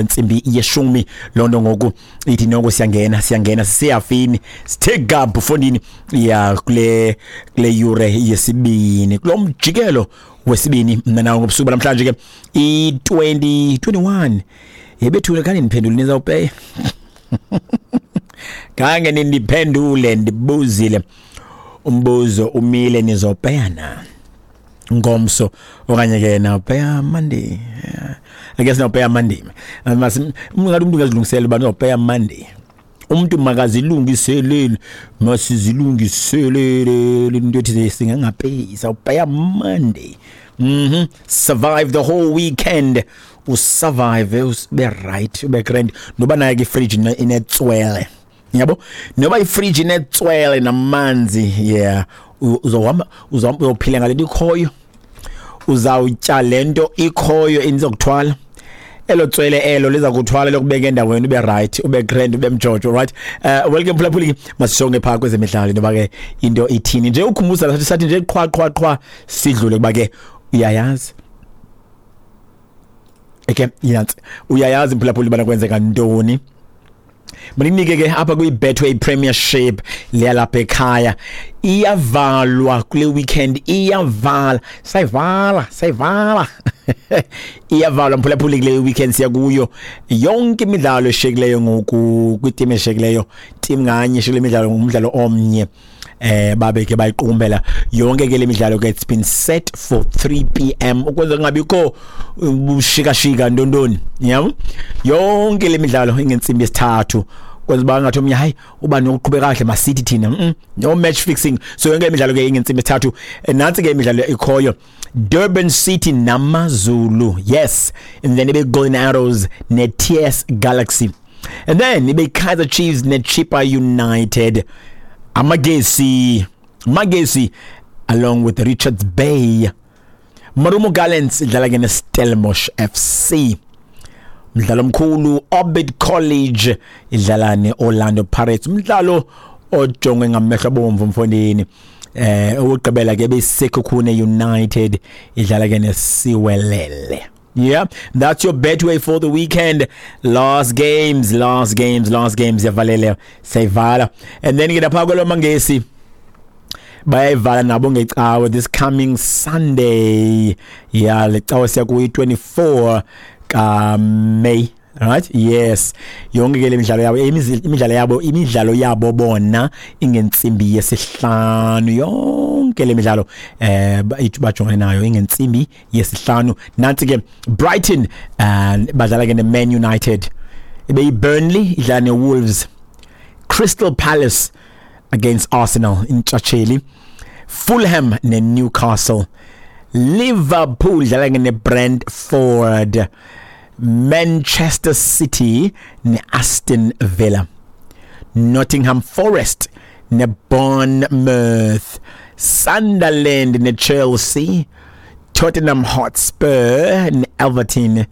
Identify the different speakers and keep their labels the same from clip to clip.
Speaker 1: Ntsimbi yeshumi loo nto ngoku ithi noko siyangena, siyangena, siseyafini, sithe gabhu fondini ya kule yure yesibini, kulo mjikelo wesibini. Mna nawo ngobusuku banamhlanje ke i-2021 yebethule. Khange ndiphendule, nizawupeya, khange nindiphendule. Ndibuzile umbuzo umile, nizopeya na ngomso okanye ke nawupeya Monday? Yeah. I guess nawupeya Monday. Ngathi umuntu ungazilungisela uba uzawupeya Monday. Umntu makazilungiselele, masizilungiselele into ethi singangapeyi, sawupeya Monday. Survive the whole weekend, usurvive, ube right, ube grand. Noba nayo ke ifridge inetswele, yabo, noba ifridge inetswele namanzi, yeah, uzohamba, uzophila ngale nto ikhoyo, uzawutya le nto ikhoyo, inizokuthwala elo tswele elo liza kuthwala lokubeka endaweni, ube right, ube grand, ube mjojo, right? Welcome phulaphuli, masisonge phaa kwezemidlalo into ke into ithini nje. Ukhumbuza sathi nje qhwa qhwa qhwa sidlule kuba ke uyayazi. Okay, yansi uyayazi mphulaphuli bana kwenzeka ntoni. Maninike ke apha kwi-Betway Premiership leyalapha ekhaya, iyavalwa kule weekend, iyavala, sayivala, sayivala, iyavalwa mphulaphuli kule weekend siya kuyo. Yonke imidlalo eshiyekileyo ngoku kwitim eshiyekileyo, team nganye eshiyekile imidlalo ngumdlalo omnye, babe ke bayiqukumbela yonke ke le midlalo ke. It's been set for 3 p.m. ukwenza kungabikho ubushikashika ntontoni, yabo. Yonke le midlalo ingentsimbi yesithathu, kwenza uba ngathi omnye hayi uba nokuqhubeka kahle, masithi thina no match fixing. So yonke imidlalo ke ingentsimbi yesithathu. Nantsi ke imidlalo ikhoyo: Durban City namaZulu, yes, and then ibe Golden Arrows ne-TS Galaxy, and then ibe Kaizer Chiefs ne-Chippa United, Amagesi Magesi along with Richards Bay, Marumo Gallants idlala ke ne-Stellenbosch FC, umdlalo omkhulu, Orbit College idlala ne-Orlando Pirates, umdlalo ojongwe ngamehlo abomvu mfondini. Owugqibela ke beSekhukhune United idlala ke neSiwelele. Yeah, that's your Betway for the weekend. Last games, last games, last games yavalele, sayivala. And then ke lapha kwelomangesi bayayivala nabo ngecawe, this coming Sunday. Yeah, le cawe siya kuyi 24 ka May. Right? Yes. Yonke ke le midlalo yabo, imidlalo yabo bona ingentsimbi yesihlanu. Yonke le midlalo bajongene nayo ingentsimbi yesihlanu. Nansi ke: Brighton and badlala ke ne-Man United. Ibe Burnley idlala ne-Wolves. Crystal Palace against Arsenal intshatsheli. Fulham ne-Newcastle. Liverpool idlala ke ne-Brentford. Manchester City ne-Aston Villa. Nottingham Forest ne-Bournemouth. Sunderland ne-Chelsea. Tottenham Hotspur ne-Everton,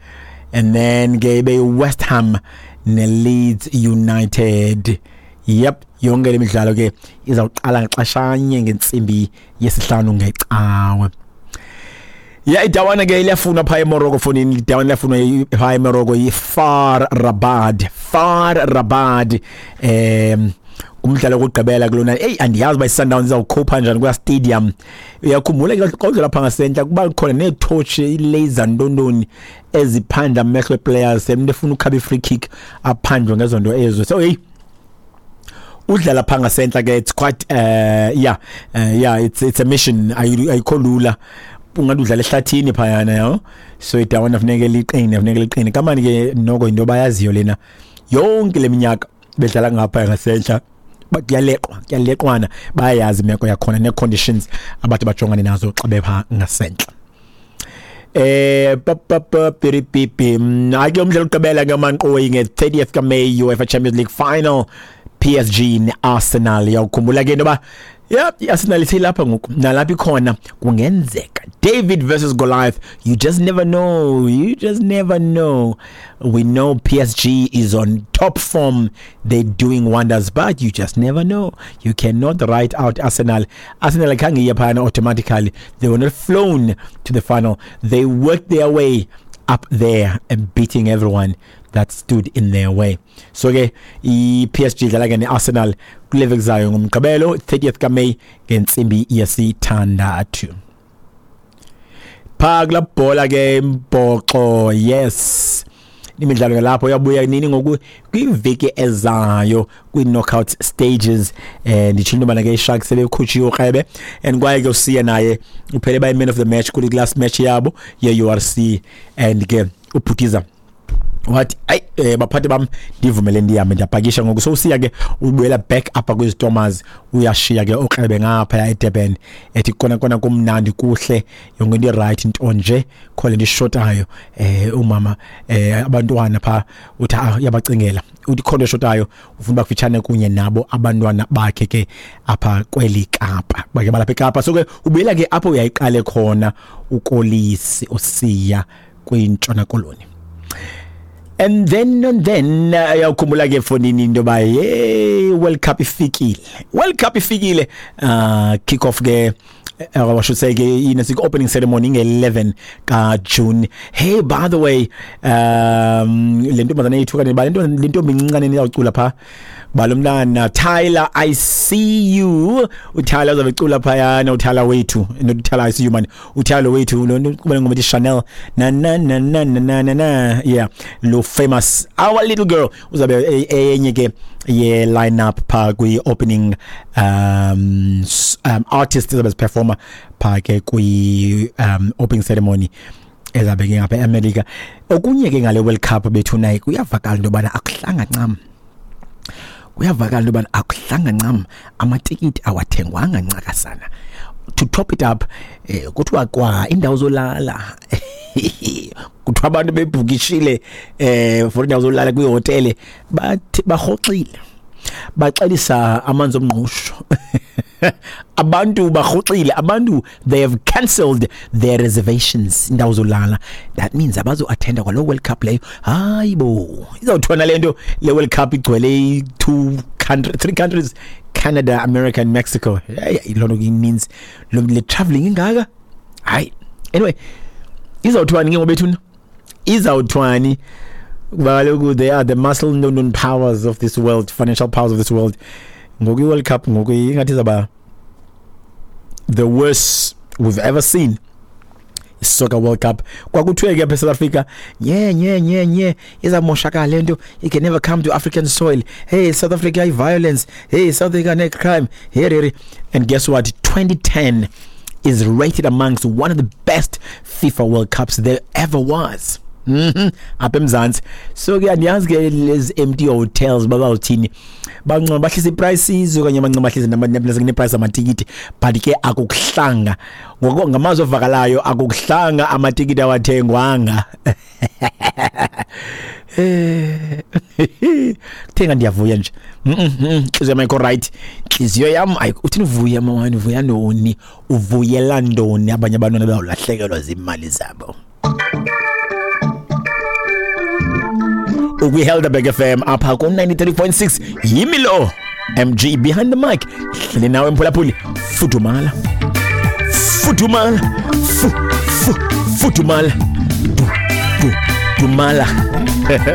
Speaker 1: and then ke ibe West Ham ne-Leeds United. Yep, yonke le midlalo ke izawuqala ngaxeshanye ngentsimbi yesihlanu ngecawe. Ya, idawana ke liyafuna phaa eMorocco fonini, idawana liyafuna phaa eMorocco, yi-FAR Rabat, FAR Rabat, umdlalo wokugqibela kulona. Eyi, andiyazi uba i-Sundowns izawukhupha njani kulaa stadium. Uyakhumbula ke xa udlala phaa ngasentla kuba khona neetotshi, iilaser ntontoni eziphandla amehlo eplayers, umntu efuna ukhaba i-free kick aphandlwe ngezo nto ezo. So heyi, udlala phaa ngasentla ke, it's quite yeah, it's a mission, ayikho lula, ungathi udlala ehlathini phayana, yabo. So idawana funeke liqine, funeke liqine kamani ke. Noko yinto bayaziyo lena, yonke le minyaka bedlala ngapha ngasentla, kuyaleqwa, kuyaleqwana, bayayazi imeko yakhona nee-conditions abathi bajongane nazo xa bepha ngasentla. Pa piripipi, ake umdlalo ogqibela ngamanqoyi nge-30th kaMay, UEFA Champions League final, PSG ne-Arsenal. Uyawukhumbula ke intoba yep, i-Arsenal iseyilapha ngoku, nalapha ikhona kungenzeka David versus Goliath. You just never know, you just never know. We know PSG is on top form, they're doing wonders, but you just never know. You cannot write out Arsenal. Arsenal khange iye phayana automatically. They were not flown to the final. They worked their way up there and beating everyone. that stood in their way. So ke i-PSG idlala ke ne-Arsenal kule veki zayo ngoMgqibelo 30th kaMay ngentsimbi yesithandathu. Phaa kulaa bhola ke mbhoxo, yes, imidlalo ke lapho yabuya nini ngoku kwiveki ezayo kwi-knockout stages. Nditshilo into yobana ke iSharks sebekhutshiwe ukrebe, and kwaye ke uSiya naye uphele bayi-man of the match kule last match yabo ye-URC, and ke ubhutiza wathi ayi, baphathi bam, ndivumele ndihambe, ndiyapakisha ngoku. So uSiya ke ubuyela back apha kwiZitomers, uyashiya ke okrebe ngapha eDurban, ethi kona kona kumnandi, kuhle, yonke into iright, nto nje kho le nto ishotayo, umama, abantwana pha. Uthi uyabacingela, uthi khona eshotayo, ufuna uba kufitshane kunye nabo abantwana bakhe ke apha kweli Kapa, bake balapha eKapa. So ke ubuyela ke apho uyayiqale khona uKolisi uSiya kwiNtshona Koloni. And then uyawukhumbula ke fonini into yoba hey, World Cup ifikile, World Cup ifikile. Kick off ke, I should say ke ine opening ceremony nge-11 ka June. Hey, by the way, le ntombazana yethu kanye ba le ntombi incinane iyawucula pha balomntana Tyler, I see you. uTyler uzabe ecula phayana, uTyler wethu, not uTyler I see you man, uTyler wethu lo kuba ngoma ethi Chanel na na na na na na na na, yeah, lo famous our little girl uzabe enye ke ye line up pha kwi opening artist ezabe performer pha ke kwi opening ceremony ezabe ke ngapha eAmerica. Okunye ke ngale World Cup bethu naye kuyavakala into yobana akuhlanga ncam, kuyavakala into yobana akuhlanga ncam, amatikiti awathengwanga ncakasana. To top it up, kuthiwa kwa indawo zolala, kuthiwa abantu bebhukishile for indawo zolala kwihotele, bathi barhoxile, baxelisa amanzi omngqusho. Abantu barhoxile, abantu they have cancelled their reservations, indawo zolala. That means abazo-attenda kwaloo World Cup leyo. Hayi bo, izawuthiwa nale nto le World Cup igcwele two country, three countries, Canada, America and Mexico. Hey, loo nto ininzi lo le travelling ingaka. Hayi, anyway, izawuthiwani ke ngobethuna, izawuthiwani? Kuba kaloku they are the muscle known powers of this world, financial powers of this world. Ngoku i-World Cup ngoku ingathi izawuba the worst we've ever seen Soccer World Cup. Kwakuthiwe ke apha eSouth Africa, nye nye nye nye, izamoshakala le nto, it can never come to African soil. Hey, South Africa i-violence, hey, South Africa ne-crime, hey, hey. And guess what? 2010 is rated amongst one of the best FIFA World Cups there ever was apha eMzantsi. So ke andiyazi ke lezi empty hotels babawuthini, bancoma bahlisa iprices okanye bancoma bahlisa neprice amatikiti, but ke akukuhlanga ngoko ngamazwi ovakalayo, akukuhlanga, amatikiti awathengwanga. Thenga, ndiyavuya nje. Intliziyo yam ayikho right, intliziyo yam uthini uvuya mawani, uvuya ntoni, uvuyela ntoni? Abanye abantwana bayawulahlekelwa ziimali zabo. Ukwi-Helderberg FM apha ku-93.6, yimi lo MG behind the mic, hleli nawe mphulaphuli. Fudumala, fudumala, fu fu fudumala, du du dumala.